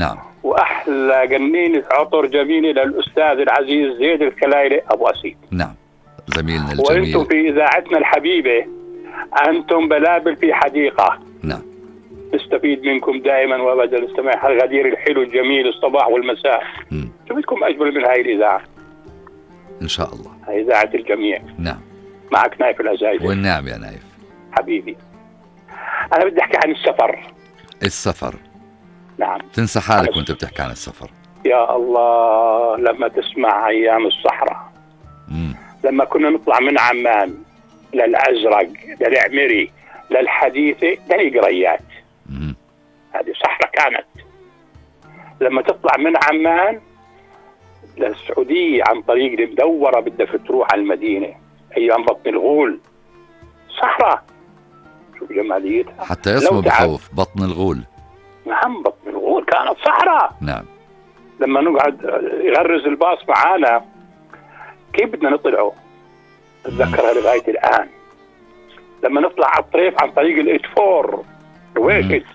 نعم. وأحلى جنينة عطر جميلة للأستاذ العزيز زيد الكلايلي أبو أسيد. نعم زميلنا الجميل. وأنتم في إذاعتنا الحبيبة أنتم بلابل في حديقة. نعم. نستفيد منكم دائما وأبدا، نستمع الغدير الحلو الجميل الصباح والمساء. شو بدكم أجمل من هاي الإذاعة؟ إن شاء الله. هاي إذاعة الجميع. نعم. معك نايف العزايزي. والنعم يا نايف حبيبي. أنا بدي أحكي عن السفر. السفر. نعم. تنسى حالك وانت بتحكي عن السفر. يا الله لما تسمع أيام الصحراء. لما كنا نطلع من عمان للأزرق للعمري للحديثة للقريات. هذه صحراء كانت. لما تطلع من عمان للسعودية عن طريق المدورة بدك تروح على المدينة أيام بطن الغول صحراء. شوف جماليتها. حتى اسمه بخوف بطن الغول. نعم بطن الغول كانت صحراء. نعم. لما نقعد يغرز الباص معانا كيف بدنا نطلعه اتذكرها لغاية الآن. لما نطلع على الطريف عن طريق الإتفور رويكت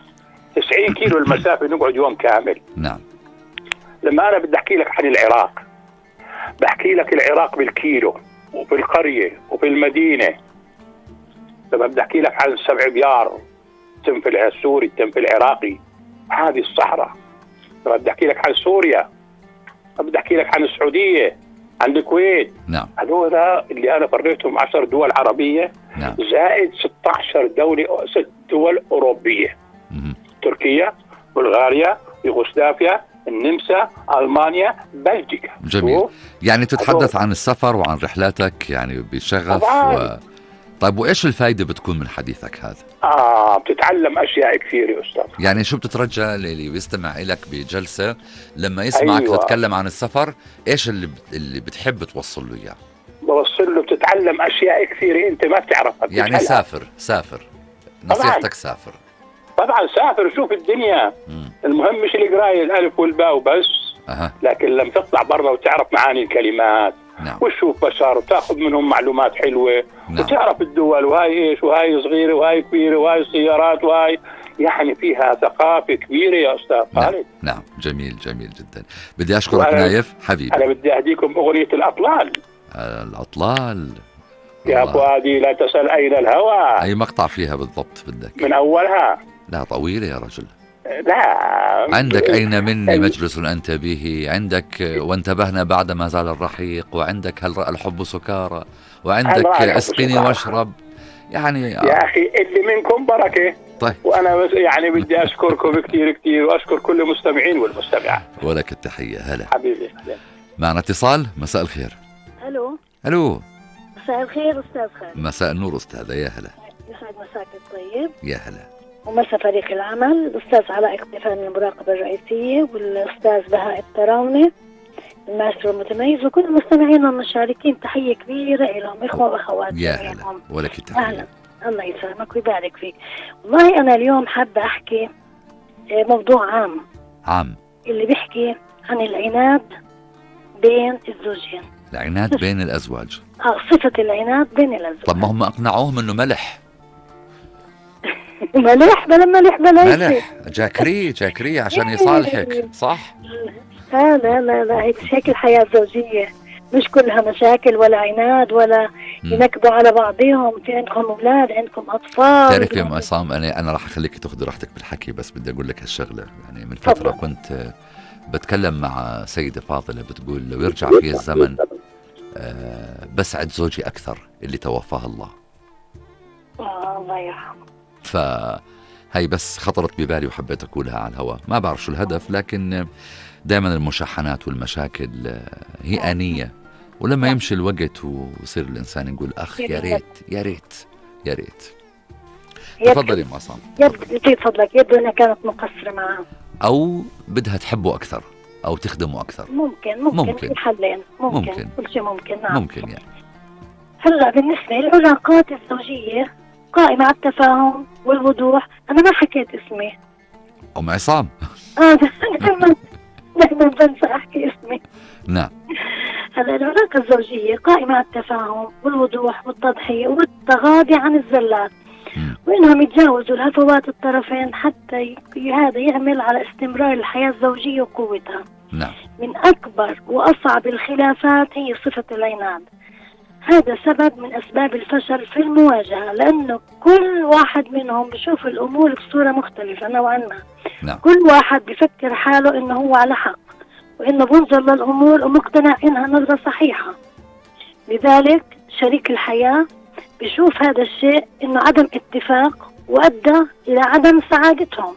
90 كيلو المسافة نقعد يوم كامل. نعم. لما أنا بدي أحكي لك عن العراق بحكي لك العراق بالكيلو وبالقرية وبالمدينة. لما بدي أحكي لك عن السبع بيار التنفل السوري التنفل العراقي هذه الصحراء. لما بدي أحكي لك عن سوريا بدي أحكي لك عن السعودية عن الكويت. نعم. هذول اللي أنا فريتهم 10 دول عربية. نعم. زائد 16 دولة 6 دول أوروبية. تركيا بلغاريا يوغوسلافيا النمسا ألمانيا بلجيكا. جميل. يعني تتحدث عن السفر وعن رحلاتك يعني بشغف طيب وإيش الفايدة بتكون من حديثك هذا؟ بتتعلم أشياء كثير يا أستاذ. يعني شو بتترجى اللي بيستمع إلك بجلسة لما يسمعك تتكلم عن السفر إيش اللي بتحب توصل له إياه؟ بوصل له بتتعلم أشياء كثيرة أنت ما بتعرفها. يعني سافر نصيحتك سافر. طبعا سافر شوف الدنيا. المهم مش القراية الألف والباء وبس. لكن لما تطلع برا وتعرف معاني الكلمات. نعم. وتشوف بشر وتاخذ منهم معلومات حلوة. نعم. وتعرف الدول وهاي ايش وهاي صغيرة وهاي كبيرة وهاي سيارات وهاي يعني فيها ثقافة كبيرة يا أستاذ خالد. نعم. جميل جدا. بدي أشكرك نايف حبيبي. أنا بدي أهديكم أغنية الأطلال. الأطلال يا فؤادي لا تسأل أين الهوى. أي مقطع فيها بالضبط بدك؟ من أولها. لا طويلة يا رجل. لا عندك أين مني مجلس أنت به، عندك وانتبهنا بعدما زال الرحيق، وعندك هل رأى الحب سكارى، وعندك اسقني واشرب. يعني يا أخي اللي منكم بركة. طيب. وأنا بس يعني بدي أشكركم كثير وأشكر كل المستمعين والمستمعات. ولك التحية. هلا حبيبي. معنا اتصال. مساء الخير. ألو. مساء الخير أستاذ خالد. مساء النور أستاذة. يا هلا. يسعد مساك الطيب. يا هلا. ومسا فريق العمل الأستاذ علاء اقتفان من المراقبة الرئيسية والأستاذ بهاء التراوني الماستر المتميز وكل المستمعين والمشاركين تحية كبيرة لهم إخوة وأخوات. يا هلا. ولك التحية. أهلا. الله يسلمك ويبارك فيك. والله أنا اليوم حابة أحكي موضوع عام اللي بيحكي عن العناد بين الزوجين. العناد بين الأزواج. صفة العناد بين الأزواج. طب ما هم أقنعوهم إنه ملح ملح جاكري عشان يصالحك صح؟ لا هيك الحياة الزوجية مش كلها مشاكل ولا عناد ولا ينكبوا على بعضهم. في عندكم أولاد عندكم أطفال. تعرف يا عصام أنا راح أخليك تاخذي راحتك بالحكي بس بدي أقول لك هالشغلة. يعني من فترة كنت بتكلم مع سيدة فاضلة بتقول لو يرجع فيه الزمن بسعد زوجي أكثر اللي توفاه الله. الله يرحمه. فهي بس خطرت ببالي وحبيت أقولها على الهواء. ما بعرف شو الهدف لكن دائما المشاحنات والمشاكل هي آنية ولما يمشي الوقت ويصير الإنسان يقول أخ يا ريت. تفضلي يا عصام. يبدو أنها كانت مقصرة معه أو بدها تحبه أكثر أو تخدمه أكثر. ممكن حلين ممكن كل شيء ممكن. نعم. ممكن يعني. هلا بالنسبة للعلاقات الزوجية قائمة على التفاهم والوضوح. أنا ما حكيت اسمي أم عصام. دائما بنسى أحكي اسمي. نعم. هلا العلاقة الزوجية قائمة على التفاهم والوضوح والتضحية والتغاضي عن الزلات وإنهم يتجاوزوا الهفوات الطرفين حتى هذا يعمل على استمرار الحياة الزوجية وقوتها. نعم. من أكبر وأصعب الخلافات هي صفة العناد. هذا سبب من أسباب الفشل في المواجهة، لأنه كل واحد منهم بيشوف الأمور بصورة مختلفة نوعا ما. نعم. كل واحد بيفكر حاله إنه هو على حق، وإنه بنظر للأمور ومقتنع إنها نظرة صحيحة. لذلك شريك الحياة بيشوف هذا الشيء إنه عدم اتفاق وأدى إلى عدم سعادتهم،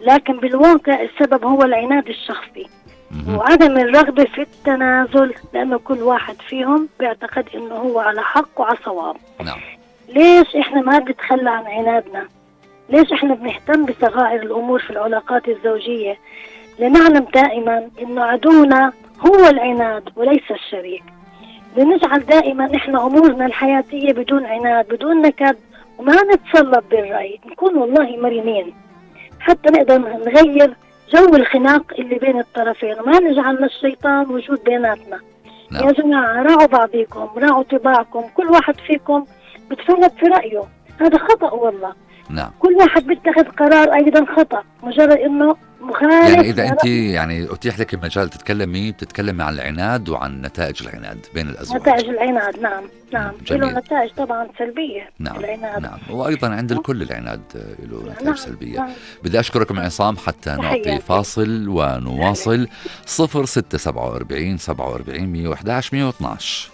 لكن بالواقع السبب هو العناد الشخصي وعدم الرغبة في التنازل، لأنه كل واحد فيهم بيعتقد إنه هو على حق وعلى صواب. نعم. ليش إحنا ما بنتخلى عن عنادنا؟ ليش إحنا بنهتم بصغائر الأمور في العلاقات الزوجية؟ لنعلم دائما إنه عدونا هو العناد وليس الشريك. لنجعل دائما إحنا أمورنا الحياتية بدون عناد، بدون نكد، وما نتسلط بالرأي، نكون والله مرنين حتى نقدر نغير جو الخناق اللي بين الطرفين، وما نجعل للشيطان وجود بيناتنا. نعم. يا جماعة راعوا بعضكم، راعوا طباعكم، كل واحد فيكم بتفرط في رأيه، هذا خطأ والله. نعم. كل واحد بيتخذ قرار أيضا خطأ، مجرد إنه مخالف. يعني إذا أنت يعني أتيح لك المجال بتتكلمي عن العناد وعن نتائج العناد بين الأزواج. نتائج العناد، نعم نعم، جميل. له نتائج طبعا سلبية. نعم. العناد. نعم. وأيضا عند الكل العناد له نتائج نعم. سلبية. نعم. بدي أشكركم عصام حتى نعطي فاصل ونواصل. 0647 47 111 112.